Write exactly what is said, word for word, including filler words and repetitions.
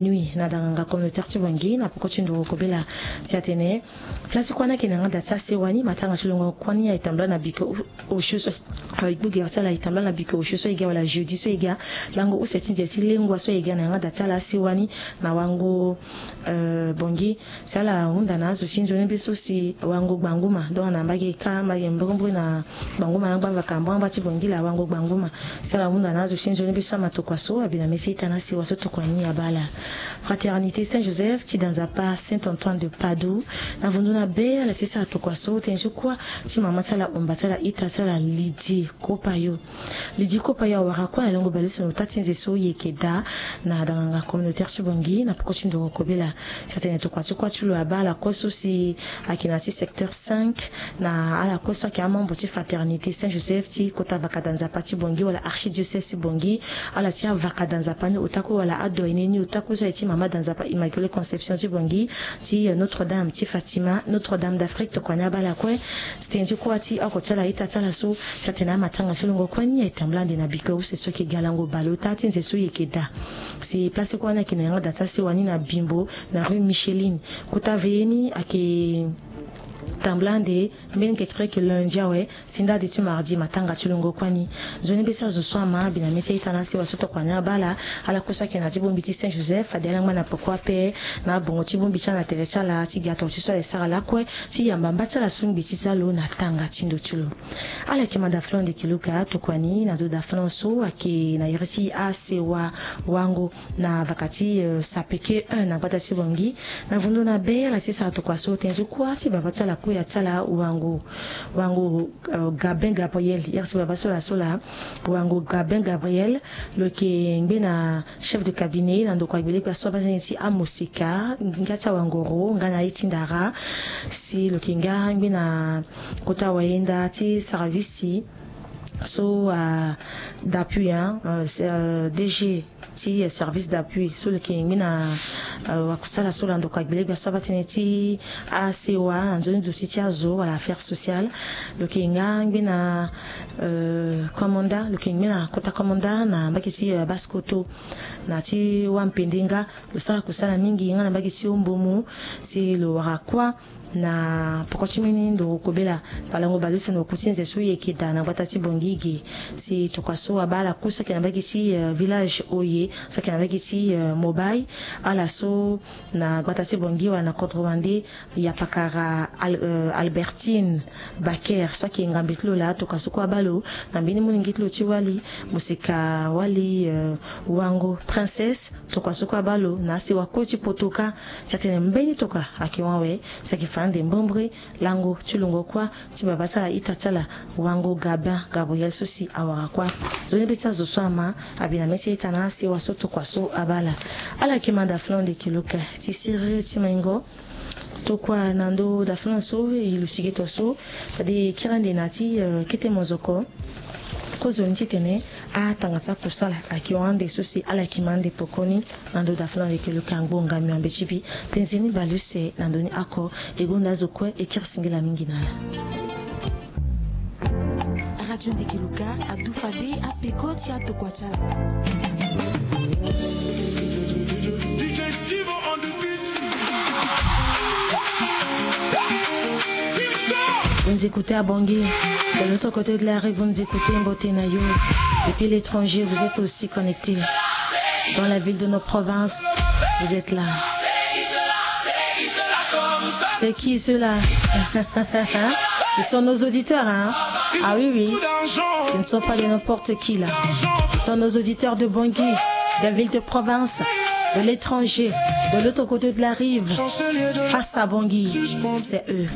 Nuit na danganga communautaire ti Bangui na poko ti ndoro kobela ti atene place kuâ ni ayeke na yanga da ti asewa ni, matanga ti longo kuâ ni aye tambula na biko osio so, aye gbu gere ti ala aye tambula na biko osio so aye ga wala jeudi so aye ga, lango use ti nze ti lengua so aye ga na yanga da ti ala asewa ni na wango, euh, Bangui. Si ala hunda na azo ti nzoni be so si wango gbanguma, donc na mbage ka mbage mbrombre na gbanguma na ngba vakambra ngba ti Bangui la wango gbanguma. Si ala hunda na azo ti nzoni be so ama tokua so abi na mê ti ita na asewa so tokua ni abaa ala. Fraternité Saint Joseph ti da Nzapa Saint Antoine de Padoue na vundu na be ala ti sara tokua so tënë ti kuâ ti mama ti ala, omba ti ala, ita ti ala Lydie Kopayo. Lydie Kopayo awara kuâ na lango baleuse na ota ti nze so e yeke daa na danganga communautaire ti Bangui na poko ti ndoro kobela. Si atene tokua ti kuâ ti lo abaa ala kue so si ayeke na ya ti secteur cinq, na ala kue so ayeke amembre ti Fraternité Saint Joseph ti kota vaka da Nzapa ti Bangui wala archidiocèse ti Bangui, ala ti avaka da Nzapa ni ota kue wala adoyen ni ota kue so aye ti mama da Nzapa Immaculée Conception ti Bangui, ti, euh, Notre-Dame ti Fatima, Notre-Dame d'Afrique, tokua ni abaa ala kue. Si tënë ti kuâ ti oko ti ala, ita ti ala so, si atene amatanga ti longo kuâ ni aye tambula ande na biko use so ayeke ga lango baleota ti nze so e yeke daa. Si place kuâ ni ayeke na yanga da ti asewa ni na Bimbo, na rue Micheline. Kota veye ni ayeke tambula ande mbeni kekereke lundi awe si ndade ti mardi matanga ti longo kuâ ni. Nzoni be so azo so ama abi na mê ti ita na asewa so tokua ni abaa ala, ala kue so ayeke na ya ti bongbi ti Saint Joseph fade ala ngba na poko ape na abongo ti bongbi ti ala na tere ti ala ti ga toro ti so ala ye sara lakue ti yamba mba ti ala so ngbi ti za lo na tanga ti ndo ti lo. Ala yeke manda flon de kiluka tokua ni na ndo da flon so ayeke na iri ti asewa wango na vaka ti, euh, sapeke un na gbata ti Bangui. Na vundu na be ala ti sara tokua so tënë ti kuâ ti baba ti ala kue ya ti ala wango, wango, euh, Gabin Gabriel, iri ti baba so la so la wango Gabin Gabriel. Lo yeke ngbe na chef de cabinet na ndokua gbele kpe aso abaa tënë ti amosika nga ti awangoro nga na aye ti ndara. Si lo yeke nga ngbe na kota wayenda ti service ti so, euh, d'appui, hein, euh, c'est, euh, D G ti, euh, service d'appui so lo yeke ngbe na, euh, wakusala so lando kua gbele gbia so abaa tënë ti asewa na nzoni zo ti ti azo wala affaire sociale. Lo yeke nga ngbe na, euh, commanda, lo yeke ngbe na kota commanda na mbage ti, euh, Basse-Kotto na ti wampende nga. Lo sara kusala mingi nga na mbage ti Ombomu. Si lo wara kuâ na poko ti mbeni ndoro kobela, palango baleuse na oku ti nze so e yeke daa na gbata ti Bangui ge. Si tokua so abaa ala kue so ayeke na mbage ti, euh, village Oye, so ayeke na mbage ti, euh, Mobaye, ala so na gbata ti Bangui wala na kodro wande, yapakara Al-, euh, Albertine Baker so ayeke ngambe ti lo laa, tokua so kue abaa lo na mbeni molenge ti lo ti wali, moseka wali, euh, wango Princesse, tokua so kue abaa lo na asewa kue ti poto kâ. Si atene mbeni tokua ayeke hon awe, si ayeke fa ande mbrembre lango ti lungo kuâ ti baba ti ala ita ti ala wango Gabin Gabriel so si awara kuâ. Nzoni be ti azo so ama abi na mê ti ita na asewa so tokua so abaa ala. Ala yeke manda flon de kiluka ti siriri ti maingo. Tokua na ndo da flon so e luti ge to so, fade e kiri ande na ti, euh, kete mozoko. Kozoni titene atanga ti akusala ayeke hon ande so si ala yeke ma ande pokoni. Na ndo da flon ayeke luka ngbonga miombe ti bi. Tenzeni baleuse na ndo ni oko. E gonda azo kue e kiri singila mingi na ala. Radio Ndegeluka adu fade apeko ti atokua ti ala. Vous nous écoutez à Bangui, de l'autre côté de la rive, vous nous écoutez, mbote na yo. Depuis l'étranger, vous êtes aussi connectés. Dans la ville de nos provinces, vous êtes là. C'est qui cela ? Ce sont nos auditeurs, hein ? Ah oui, oui. Ce ne sont pas de n'importe qui, là. Ce sont nos auditeurs de Bangui, de ville de province, de l'étranger, de l'autre côté de la rive. Face à Bangui, c'est eux.